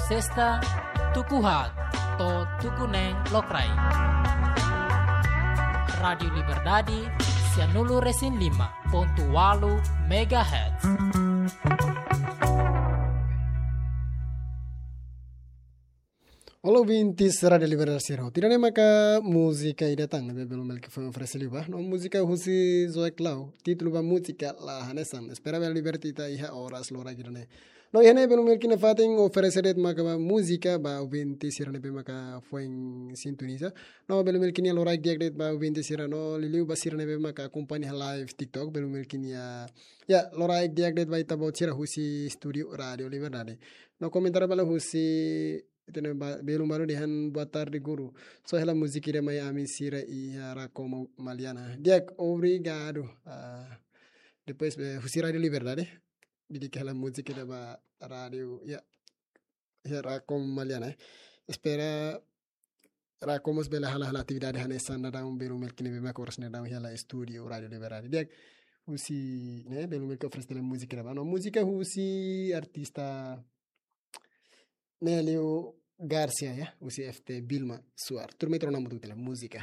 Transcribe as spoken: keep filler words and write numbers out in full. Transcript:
Sesta, tuku haat to'o tuku neen lokraik. Rádiu Liberdade, sianulu-resin-lima pontu ualu megahertz. Olá, ouvintes Rádiu Liberdade sira. Tiha ona maka múzika ida tan ne'ebé belun Melki foin oferese liu ba. No múzika husi Zoe Clau, títulu ba múzika La Hanesan. Espera bele liberta ita iha oras loraik ida-ne'e. No iha ne'e belun Melki nia fatin oferese de'it maka ba múzika ba ouvinte sira ne'ebé maka foin sintoniza. No belun Melki nia loraik di'ak de'it ba ouvinte sira no liuliu ba sira ne'ebé maka akompaña live TikTok, belun Melki nia, ya, loraik di'ak de'it ba ita-boot sira husi estúdiu Rádiu Liberdade. No komentáriu balu husi, ita-nia ba, belun balu dehan boa tarde guru. Só hela múzika ida mai ami sira iha Rakomo Maliana. Di'ak, obrigadu. Ah, depois, eh, husi Rádiu Liberdade. Dedika hela múzika ida ba rádiu, ya. Ya, Rakomo Maliana, eh. Espera Rakomo mós bele hala'o hela atividade hanesan daudaun belun Melki ne'ebé maka oras ne'e daudaun hela estúdiu Rádiu Liberdade. Di'ak, husi, ne'e, belun Melki oferese hela múzika ida ba. No múzika husi artista Nélio Garcia, ya, husi F T Vilma Suar. Turma ita rona hamutuk tiha ona múzika.